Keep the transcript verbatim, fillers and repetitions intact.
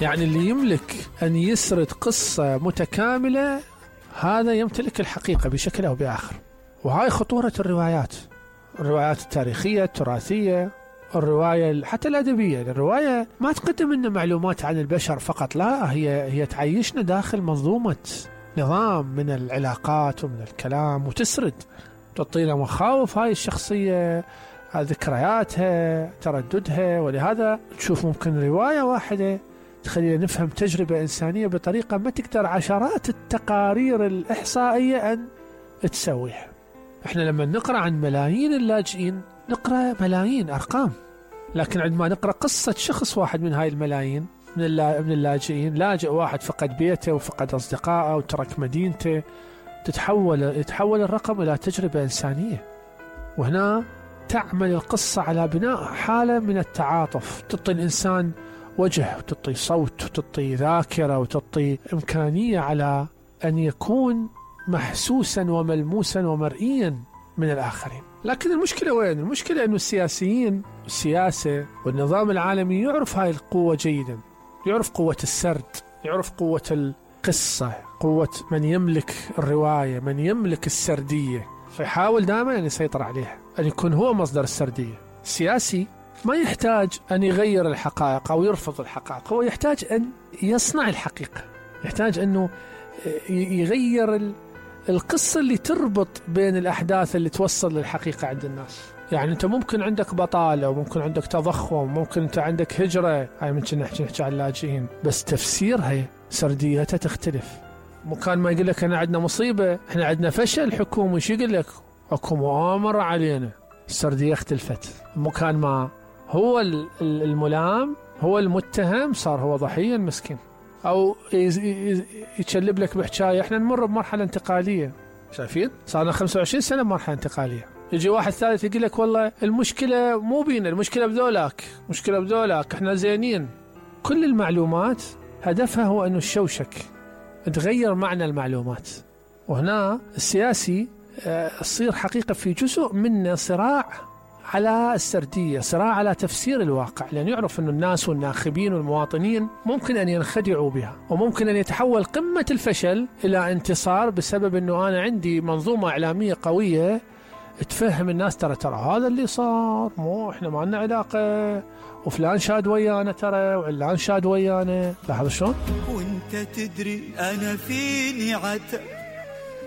يعني اللي يملك أن يسرد قصة متكاملة هذا يمتلك الحقيقة بشكل أو بآخر. وهاي خطورة الروايات، الروايات التاريخية التراثية، الرواية حتى الأدبية. الرواية ما تقدم لنا معلومات عن البشر فقط، لا، هي هي تعيشنا داخل منظومة نظام من العلاقات ومن الكلام، وتسرد تعطينا مخاوف هاي الشخصية، ذكرياتها، ترددها. ولهذا تشوف ممكن رواية واحدة تخلينا نفهم تجربة إنسانية بطريقة ما تقدر عشرات التقارير الإحصائية أن تسويها. احنا لما نقرأ عن ملايين اللاجئين نقرأ ملايين أرقام، لكن عندما نقرأ قصة شخص واحد من هاي الملايين من من اللاجئين، لاجئ واحد فقد بيته وفقد أصدقائه وترك مدينته، تتحول يتحول الرقم إلى تجربة إنسانية. وهنا تعمل القصة على بناء حالة من التعاطف، تعطي الإنسان وجه وتعطي صوت وتعطي ذاكرة وتعطي إمكانية على أن يكون محسوسا وملموسا ومرئيا من الآخرين. لكن المشكلة وين؟ المشكلة أنه السياسيين والسياسة والنظام العالمي يعرف هاي القوة جيدا، يعرف قوة السرد، يعرف قوة القصة، قوة من يملك الرواية، من يملك السردية، فيحاول دائما أن يسيطر عليها، أن يكون هو مصدر السردية. السياسي ما يحتاج أن يغير الحقائق أو يرفض الحقائق، هو يحتاج أن يصنع الحقيقة، يحتاج أنه يغير القصة اللي تربط بين الأحداث اللي توصل للحقيقة عند الناس. يعني أنت ممكن عندك بطالة وممكن عندك تضخم، ممكن أنت عندك هجرة، هاي ممكن نحكي نحكي عن اللاجئين، بس تفسيرها سرديتها تختلف. مكان ما يقول لك أنا عندنا مصيبة، إحنا عندنا فشل حكومي، شو يقول لك؟ أكو مؤامرة علينا، السردية اختلفت. مكان ما هو الملام، هو المتهم، صار هو ضحية المسكين، أو يتشلب لك بحكاية. إحنا نمر بمرحلة انتقالية، شايفين؟ صارنا خمسة وعشرين سنة بمرحلة انتقالية. يجي واحد ثالث يقول لك والله المشكلة مو بينا، المشكلة بذولاك، مشكلة بذولاك، إحنا زينين. كل المعلومات هدفها هو أنه الشوشك، تغير معنى المعلومات. وهنا السياسي تصير حقيقة في جزء من صراع على السردية، صراع على تفسير الواقع، لأن يعرف أن الناس والناخبين والمواطنين ممكن أن ينخدعوا بها، وممكن أن يتحول قمة الفشل إلى انتصار بسبب أنه أنا عندي منظومة إعلامية قوية تفهم الناس ترى ترى هذا اللي صار، مو إحنا ما لنا علاقة، وفلان شاد ويانا ترى، وعلان شاد ويانا. لاحظ شلون؟ وانت تدري أنا فيني عتب